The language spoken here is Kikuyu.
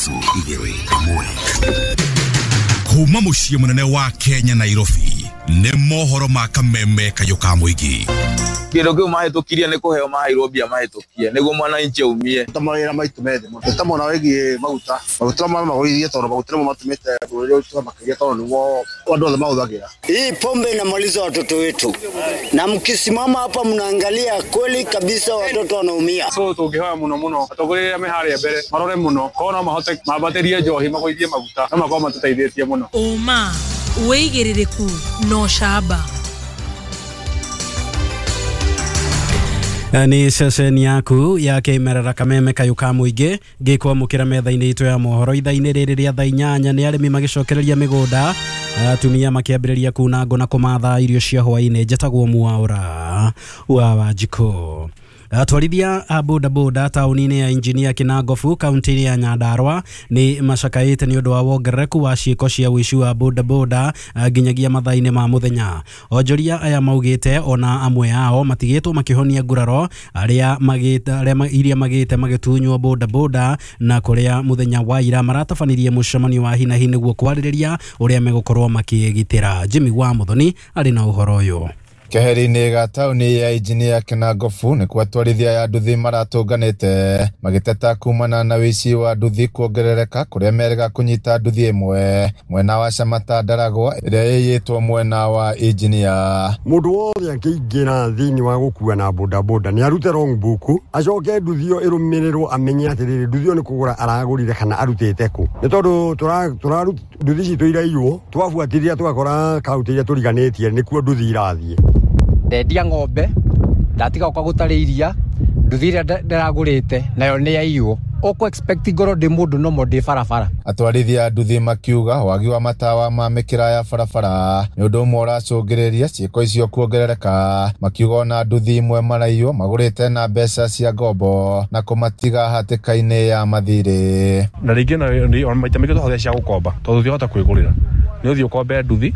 3 1. Kuma muciĩ mũnene wa Kenya Nairobi nĩ mohoro ma kameme kayũ ka mũingĩ. Kĩndũ kĩu mahĩtũkirie nĩ kũheo maheirwo mbia mahĩtũkie nĩguo mwananchi aumie. Ta mawĩra maitũ methĩ mũno ta mwena wĩgiĩ maguta, maguta magũithie tondũ maguta nĩmo matũmĩte bũrũri ũyũ makĩria tondũ nĩguo andũ othe mahũthagĩra. Hii pombe inamaliza watoto wetu, na mkisimama hapa mnaangalia kweli kabisa watoto wanaumia. So tũngĩhoya mũno mũno atongoria arĩa me harĩa mbere marore mũno korwo no mahote mambatĩrie njohi magũithie maguta no makorwo matũteithĩtie mũno. Ũma wĩigĩrĩrĩku na ũcamba. Nĩ ceceni yaku ya kĩmerera kameme kayũ ka mũingĩ ngĩkwamũkĩra metha-inĩ itũ ya mohoro ithaa-inĩ rĩrĩ rĩa thaa 8. Nĩ arĩmi magĩcokereria mĩgũnda, atumia makĩambĩrĩria kuna ngũ na kũmatha irio cia hwaĩ-inĩ. Njĩtagwo Mwaũra wa Wanjikũ. Atwarithia a bodaboda taũni-inĩ ya Injinia Kinangofu kaunti-inĩ ya Nyandarua nĩ macakaĩte nĩ ũndũ wa wongerereku wa ciĩko cia ũici wa bodaboda nginyagia mathaa-inĩ ma mũthenya. Onjoria aya maugĩte ona amwe ao matigĩtwo makĩhonia nguraro arĩa iria magĩte magĩtunywo bodaboda, na kũrĩa mũthenya wa ira maratabanirie mũcemanio wa hinahi nĩguo kwarĩrĩria ũrĩa megũkorwo makĩgitĩra. Jimmy wa Muthoni arĩ na ũhoro ũyũ. Keheri-inĩ ga taũni ya Injinia Kinangofu nĩkuo atwarithia ya nduthi maratũnganĩte magĩteta kumana na ũici wa nduthi kuongerereka kũrĩa merĩga kũnyita nduthi ĩmwe mwena wa Shamata Ndaragwa ĩrĩa ĩiyĩtwo mwena wa Injinia. Mũndũ wothe akĩingĩra thĩinĩ wa gũkua na bodaboda nĩ arute wrong book, acoke nduthi ĩyo ĩrũmĩrĩrwo amenye atĩrĩrĩ nduthi ĩyo nĩ kũgũra aragũrire kana arutĩte kũ, nĩ tondũ nduthi citũ iraiywo twabuatĩrĩria tũgakora kaunti iria tũriganĩtie nĩkuo nduthi irathiĩ. Ndendia ng'ombe ndatiga gũka gũtarĩ iria, nduthi ĩrĩa ndĩragũrĩte nayo nĩ yaiywo. Ũkũ expect ngorwo ndĩ mũndũ nomo ndĩ barabara. Atwarithia nduthi makiuga wagi wa matawa ma mĩkĩra ya barabara nĩ ũndũ ũmwe ũracũngĩrĩria ciĩko icio kuongerereka, makiuga ona nduthi imwe maraiywo magũrĩte na mbeca cia ngombo na kũmatiga hatĩka-inĩ ya mathirĩ. Na rĩngĩ ona maita maingĩ tũhũthĩra cia gũkomba tondũ tũtingĩhota kwĩgũrĩra, nĩ ũthiĩ ũkombe nduthi.